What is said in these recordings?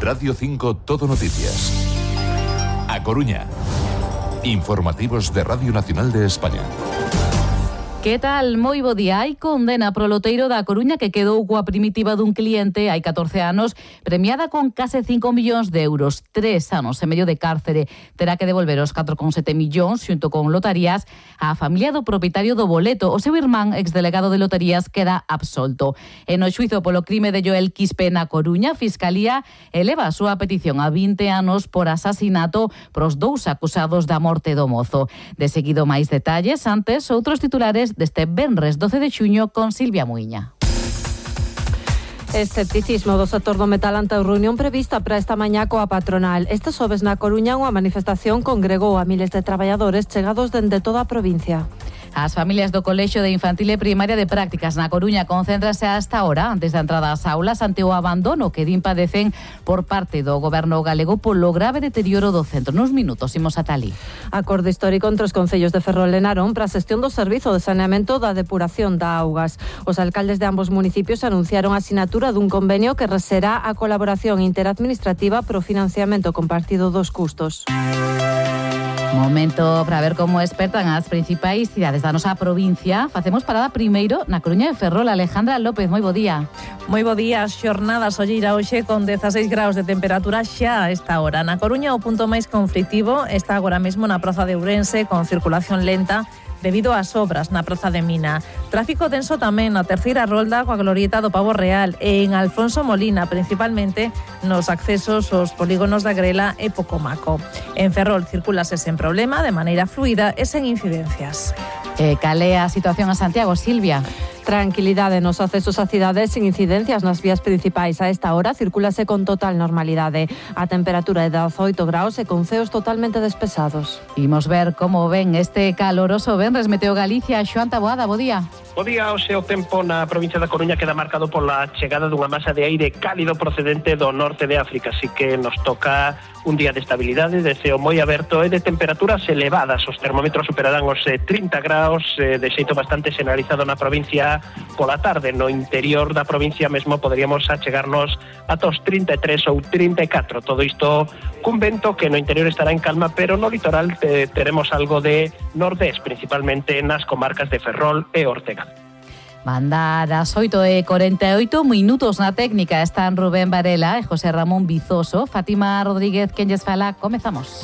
Radio 5 Todo Noticias. A Coruña. Informativos de Radio Nacional de España. Que tal? Moi bo día. Hai condena pro loteiro da Coruña que quedou coa primitiva dun cliente hai 14 anos, premiada con case 5 millóns de euros. 3 anos e medio de cárcere. Terá que devolver os 4,7 millóns xunto con lotarías á familia do propietario do boleto. O seu irmán, exdelegado de lotarías, queda absolto. E no xuizo polo crime de Joel Quispe na Coruña, a Fiscalía eleva a súa petición a 20 anos por asasinato pros 2 acusados da morte do mozo. De seguido máis detalles, antes outros titulares deste venres 12 de xuño con Silvia Muiña. Escepticismo do sector do metal ante a reunión prevista para esta mañá coa patronal. Este xoves na Coruña unha manifestación congregou a miles de traballadores chegados dende toda a provincia. As familias do Colexio de Infantil e Primaria de Prácticas na Coruña concéntrase hasta ahora antes da entrada ás aulas ante o abandono que din padecen por parte do goberno galego polo grave deterioro do centro. Nos minutos imos ata alí. Acordo histórico entre os concellos de Ferrol e Narón para a xestión do servizo de saneamento da depuración da augas. Os alcaldes de ambos municipios anunciaron a sinatura dun convenio que reserá a colaboración interadministrativa pro financiamento compartido dos custos. Momento para ver como expertan as principais cidades da nosa provincia. Facemos parada primeiro na Coruña de Ferrol. Alejandra López, moi bo día. Moi bo día, xornada solleira hoxe con 16 graus de temperatura xa a esta hora. Na Coruña o punto máis conflitivo está agora mesmo na praza de Ourense con circulación lenta debido ás obras na praza de Mina. Tráfico denso tamén na terceira rolda coa glorieta do Pavo Real e en Alfonso Molina, principalmente nos accesos aos polígonos da Grela e Pocomaco. En Ferrol circulase sen problema, de maneira fluida e sen incidencias. Cal é a situación a Santiago, Silvia? Tranquilidade nos accesos á cidade sin incidencias nas vías principais. A esta hora circulase con total normalidade. A temperatura é de 18 graus e con ceos totalmente despesados. Imos ver como ven este caloroso venres. Meteo Galicia. Xoan Taboada, bo día. Bo día, o seu tempo na provincia da Coruña queda marcado pola chegada dunha masa de aire cálido procedente do norte de África, así que nos toca un día de estabilidade, de ceo moi aberto e de temperaturas elevadas. Os termómetros superarán os 30 graus, de xeito bastante generalizado na provincia pola tarde. No interior da provincia mesmo poderíamos achegarnos ata os 33 ou 34. Todo isto cun vento que no interior estará en calma, pero no litoral teremos algo de nordés, principalmente nas comarcas de Ferrol e Ortega. Mandar as 8:48 minutos na técnica están Rubén Varela e José Ramón Vizoso. Fátima Rodríguez, quen lles fala, comezamos.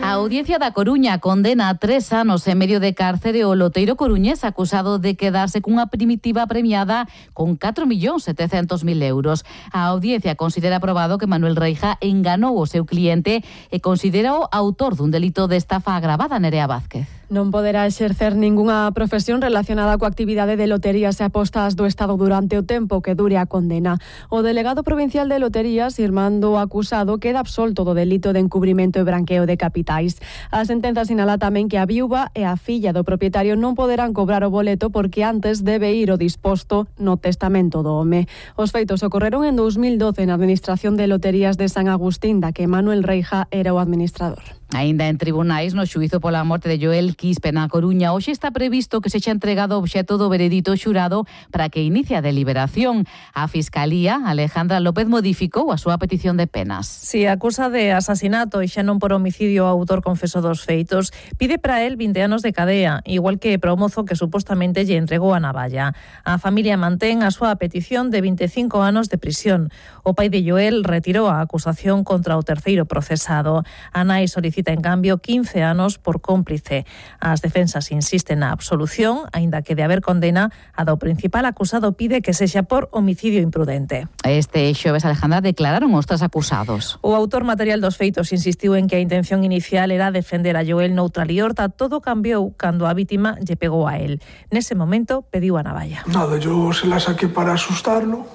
A Audiencia da Coruña condena a 3 anos e medio de cárcere o loteiro coruñés acusado de quedarse cunha primitiva premiada con 4.700.000 euros. A Audiencia considera aprobado que Manuel Reija enganou o seu cliente e considera o autor dun delito de estafa agravada. Nerea Vázquez. Non poderá exercer ningunha profesión relacionada coa actividade de loterías e apostas do Estado durante o tempo que dure a condena. O delegado provincial de loterías, Irmando Acusado, queda absolto do delito de encubrimento e branqueo de capitais. A sentenza sinala tamén que a viúva e a filla do propietario non poderán cobrar o boleto porque antes debe ir o disposto no testamento do home. Os feitos ocorreron en 2012 na Administración de Loterías de San Agustín, da que Manuel Reija era o administrador. Aínda en tribunais, no xuízo pola morte de Joel Quispe na Coruña, hoxe está previsto que sexa entregado o obxecto do veredito xurado para que inicie a deliberación. A Fiscalía, Alejandra López, modificou a súa petición de penas. Si acusa de asasinato e xa non por homicidio ao autor confeso dos feitos, pide para él 20 anos de cadea, igual que para o mozo que supostamente lle entregou a navalla. A familia mantén a súa petición de 25 anos de prisión. O pai de Joel retirou a acusación contra o terceiro procesado. A nai solicita en cambio 15 anos por cómplice. As defensas insisten na absolución, aínda que de haber condena, a do principal acusado pide que sexa por homicidio imprudente. Este xoves, Alejandra, declararon os tres acusados. O autor material dos feitos insistiu en que a intención inicial era defender a Joel noutra liorta. Todo cambiou cando a vítima lle pegou a él. Nese momento pediu a navalla. Nada, yo se la saqué para asustarlo,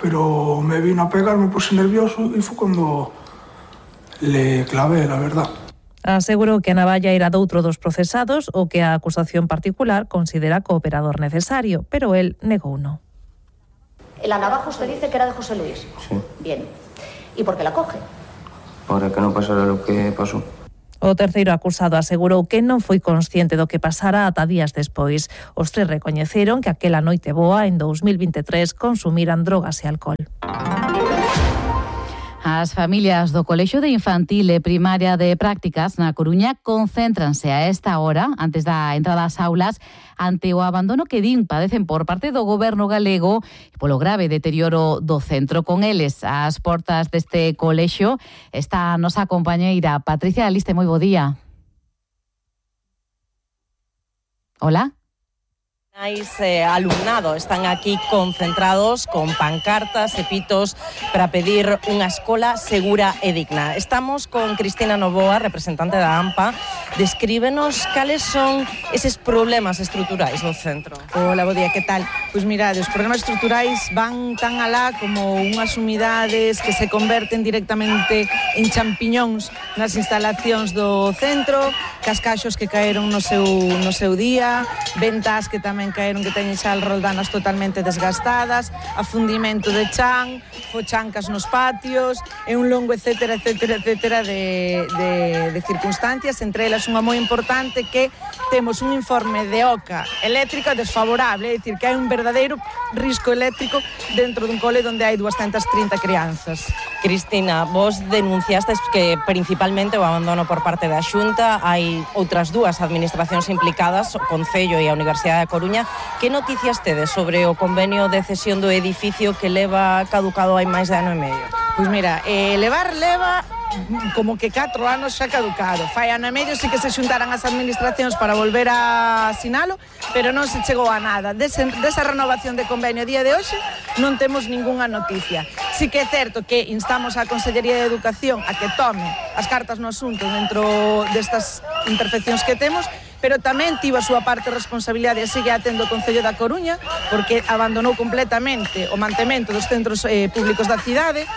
pero me vino a pegar, me puse nervioso y fue cuando le clavé, la verdad. Asegurou que a navalla era doutro dos procesados o que a acusación particular considera cooperador necesario, pero él negouno. La navaja usted dice que era de José Luis. Sí. Bien. ¿Y por qué la coge? Para que no pasara lo que pasó. O terceiro acusado asegurou que non foi consciente do que pasara ata días despois. Os tres recoñeceron que aquela noite boa en 2023 consumiran drogas e alcohol. As familias do Colexio de Infantil e Primaria de Prácticas na Coruña concéntranse a esta hora, antes da entrada ás aulas, ante o abandono que padecen por parte do goberno galego polo grave deterioro do centro. Con eles, ás portas deste colexio, está a nosa compañeira Patricia Aliste. Moi bo día. Hola. Alumnado están aquí concentrados con pancartas e pitos para pedir unha escola segura e digna. Estamos con Cristina Novoa, representante da AMPA. Descríbenos cales son eses problemas estruturais do centro. Hola, bo día, que tal? Pois mirade, os problemas estruturais van tan alá como unhas humidades que se converten directamente en champiñóns nas instalacións do centro, cascaxos que caeron no seu día, ventas que tamén caeron que teñen xa roldanas totalmente desgastadas, afundimento de chan, fochancas nos patios e un longo etcétera de circunstancias, entre elas unha moi importante que temos un informe de OCA eléctrica desfavorable, é dicir, que hai un verdadeiro risco eléctrico dentro dun cole onde hai 230 crianzas. Cristina, vos denunciastes que principalmente o abandono por parte da Xunta, hai outras dúas administracións implicadas, o Concello e a Universidade da Coruña. Que noticias tedes sobre o convenio de cesión do edificio que leva caducado hai máis de ano e medio? Pois mira, leva como que 4 anos xa caducado. Fai ano e medio sí que se xuntaran as administracións para volver a asinalo, pero non se chegou a nada. Desa renovación de convenio a día de hoxe non temos ningunha noticia. Sí que é certo que instamos á Consellería de Educación a que tome as cartas no asunto dentro destas imperfeccións que temos, pero tamén tivo a súa parte de responsabilidade e sigue atendo o Concello da Coruña, porque abandonou completamente o mantemento dos centros públicos da cidade,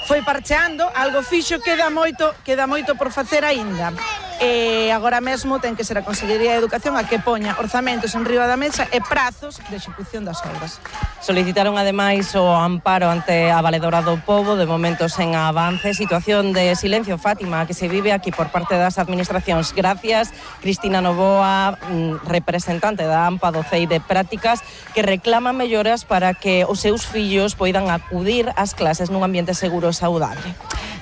foi parcheando, algo fixo, queda moito por facer aínda. E agora mesmo ten que ser a Consellería de Educación a que poña orzamentos en riba da mesa e prazos de execución das obras. Solicitaron ademais o amparo ante a Valedora do Pobo, de momento sen avance, situación de silencio, Fátima, que se vive aquí por parte das administracións. Gracias, Cristina Novoa, representante da AMPA do CEI de Prácticas, que reclama melloras para que os seus fillos poidan acudir ás clases nun ambiente seguro e saudable.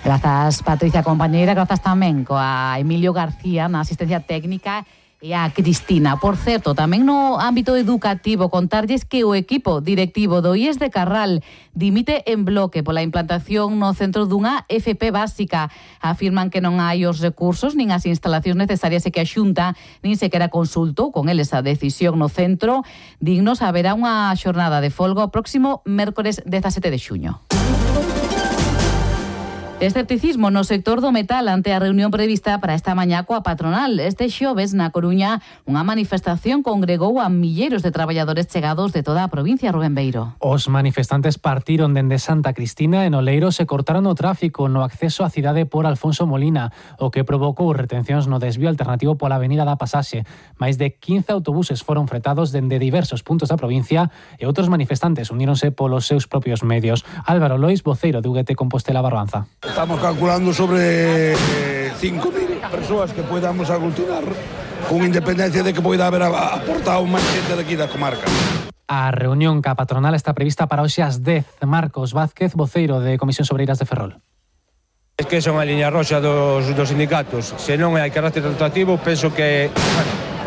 Grazas, Patricia, compañeira. Grazas tamén coa Emilio García na asistencia técnica e a Cristina. Por certo, tamén no ámbito educativo, contarlles que o equipo directivo do IES de Carral dimite en bloque pola implantación no centro dunha FP básica. Afirman que non hai os recursos nin as instalacións necesarias e que a Xunta nin sequera consultou con eles a decisión no centro. Dignos, haberá unha xornada de folga o próximo mércores 17 de xuño. Escepticismo no sector do metal ante a reunión prevista para esta mañá coa patronal. Este xoves, na Coruña, unha manifestación congregou a milleiros de traballadores chegados de toda a provincia, Rubén Beiro. Os manifestantes partiron dende Santa Cristina e no Leiro se cortaron o tráfico no acceso á cidade por Alfonso Molina, o que provocou retencións no desvío alternativo pola avenida da Pasaxe. Máis de 15 autobuses foron fretados dende diversos puntos da provincia e outros manifestantes uníronse polos seus propios medios. Álvaro Lois, voceiro de UGT Compostela Barbanza. Estamos calculando sobre 5.000 persoas que podamos aglutinar, con independencia de que poida haber aportado máis xente daqui da comarca. A reunión ca patronal está prevista para hoxe ás 10. Marcos Vázquez, voceiro de Comisións Obreiras de Ferrol. Es que son a liña roxa dos sindicatos. Se non hai carácter rotativo, penso que,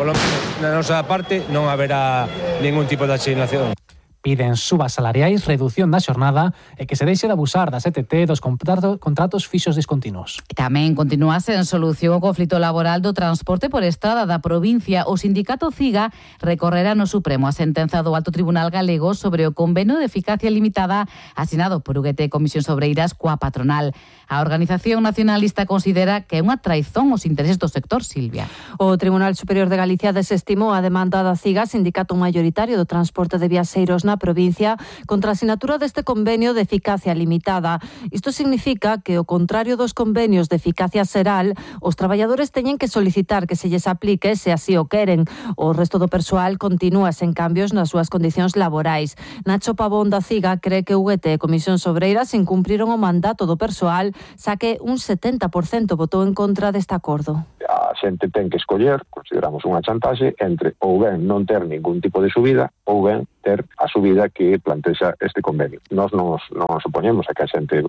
polo menos na nosa parte, non haberá ningún tipo de asignación. Piden subas salariais, redución da xornada e que se deixe de abusar da CTT dos contratos fixos discontinuos. Tamén continúa sen solución o conflito laboral do transporte por estrada da provincia. O sindicato CIGA recorrerá no Supremo a sentenza do Alto Tribunal Galego sobre o convenio de eficacia limitada asinado por UGT Comisións Obreiras coa patronal. A Organización Nacionalista considera que é unha traizón aos intereses do sector, Silvia. O Tribunal Superior de Galicia desestimou a demanda da CIGA, sindicato maioritario do transporte de viaxeiros na provincia contra a asinatura deste convenio de eficacia limitada. Isto significa que, ao contrario dos convenios de eficacia xeral, os traballadores teñen que solicitar que se lles aplique se así o queren. O resto do persoal continúa sen cambios nas súas condicións laborais. Nacho Pavón da CIGA cree que UGT e Comisións Obreiras incumpriron o mandato do persoal, xa que un 70% votou en contra deste acordo. A xente ten que escoller, consideramos unha chantaxe, entre ou ben non ter ningún tipo de subida ou ben ter a subida que plantexa este convenio. Nós non supoñemos a que a xente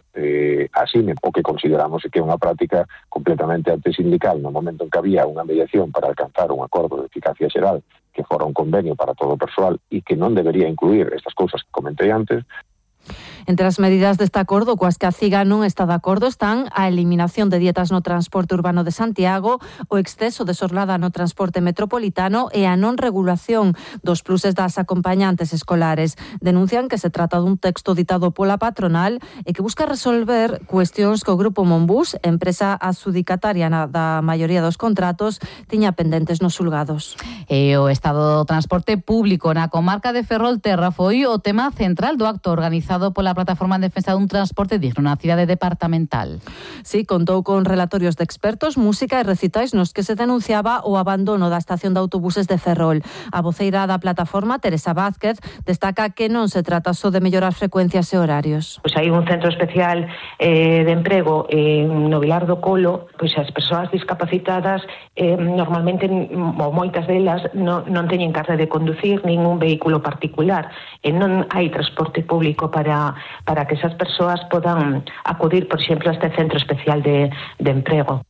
asine o que consideramos que é unha práctica completamente antisindical no momento en que había unha mediación para alcanzar un acordo de eficacia xeral que fora un convenio para todo o persoal e que non debería incluir estas cousas que comentei antes. Entre as medidas deste acordo coas que a CIGA non está de acordo están a eliminación de dietas no transporte urbano de Santiago, o exceso de xornada no transporte metropolitano e a non regulación dos pluses das acompañantes escolares. Denuncian que se trata dun texto ditado pola patronal e que busca resolver cuestións que o Grupo Monbús, empresa adxudicataria da maioría dos contratos, tiña pendentes nos xulgados. E o estado do transporte público na comarca de Ferrolterra foi o tema central do acto organizado pola Plataforma en Defensa dun Transporte Digno na cidade departamental. Sí, contou con relatorios de expertos, música e recitais nos que se denunciaba o abandono da estación de autobuses de Ferrol. A voceira da plataforma, Teresa Vázquez, destaca que non se trata só de mellorar frecuencias e horarios. Pois hai un centro especial de emprego no Vilar do Colo, pois as persoas discapacitadas normalmente, ou moitas delas, non teñen carta de conducir nin un vehículo particular e non hai transporte público para que esas persoas podan acudir, por exemplo, a este centro especial de emprego.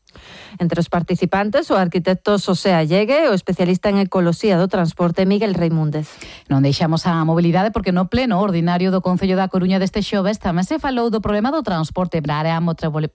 Entre os participantes, o arquitecto Xosé Allegue e o especialista en ecoloxía do transporte Miguel Reimúndez. Non deixamos a mobilidade porque no pleno ordinario do Concello da Coruña deste xoves tamén se falou do problema do transporte para a área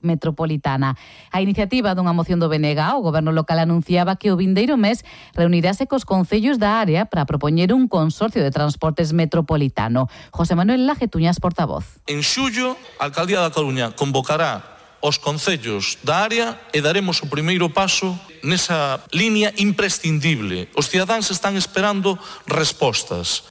metropolitana. A iniciativa dunha moción do BNG, o goberno local anunciaba que o vindeiro mes reunirase cos concellos da área para propoñer un consorcio de transportes metropolitano. José Manuel Laje Tuñas, portavoz. En xullo, a Alcaldía da Coruña convocará os concellos da área e daremos o primeiro paso nesa línea imprescindible. Os cidadáns están esperando respostas.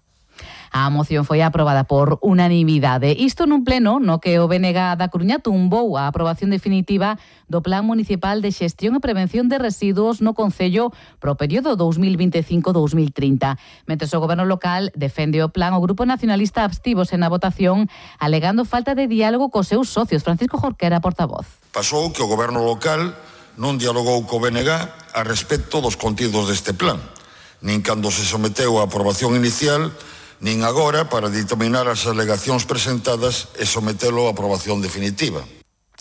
A moción foi aprobada por unanimidade. Isto nun pleno no que o BNG da Coruña tumbou a aprobación definitiva do Plan Municipal de Xestión e Prevención de Residuos no Concello pro período 2025-2030. Mentres o goberno local defende o plan, o Grupo Nacionalista abstívose na votación alegando falta de diálogo cos seus socios. Francisco Jorquera, portavoz. Pasou que o goberno local non dialogou co BNG a respecto dos contidos deste plan, nin cando se someteu a aprobación inicial, nin agora para determinar as alegacións presentadas e sometelo a aprobación definitiva.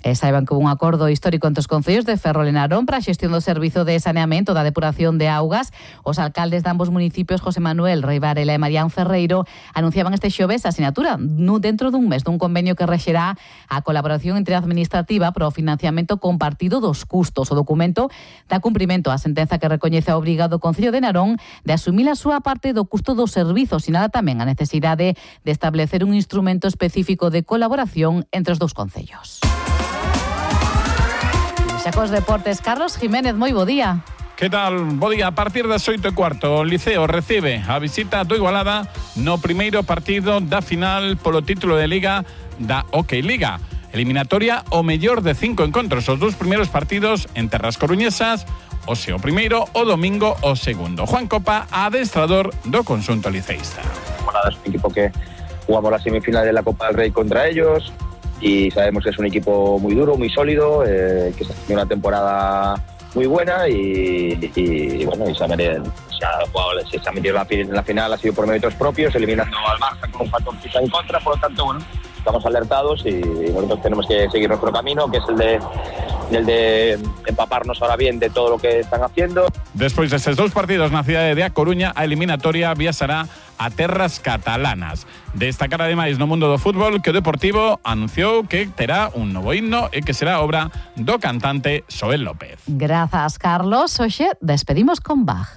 E saiban que houve un acordo histórico entre os concellos de Ferrol e Narón para a xestión do servizo de saneamento da depuración de augas. Os alcaldes de ambos municipios, José Manuel Rei Varela e Marián Ferreiro, anunciaban este xoves a sinatura dentro dun mes dun convenio que rexerá a colaboración interadministrativa para o financiamento compartido dos custos. O documento dá cumprimento á sentenza que recoñece a obriga do Concello de Narón de asumir a súa parte do custo dos servizos, sinala tamén a necesidade de establecer un instrumento específico de colaboración entre os dous concellos. Xa cos deportes, Carlos Jiménez, moi bo día. Que tal? Bo día. A partir das 8:15, o Liceo recibe a visita do Igualada no primeiro partido da final polo título de Liga da Hockey Liga. Eliminatoria o mellor de 5 encontros. Os dous primeiros partidos en terras coruñesas, o seu primeiro, o domingo o segundo. Juan Copa, adestrador do conxunto liceísta. Es un equipo que jugamos la semifinal de la Copa del Rey contra ellos y sabemos que es un equipo muy duro, muy sólido, que está haciendo una temporada muy buena y bueno, se ha metido en la final, ha sido por méritos propios, eliminando al Barça con un factor quizá en contra, por lo tanto, bueno, estamos alertados y nosotros tenemos que seguir nuestro camino, que es el de empaparnos ahora bien de todo lo que están haciendo. Despois destes dous partidos na cidade de A Coruña, a eliminatoria viaxará a terras catalanas. Destacar ademais no mundo do fútbol que o Deportivo anunciou que terá un novo himno e que será obra do cantante Xoel López. Grazas, Carlos. Hoxe despedimos con Bach.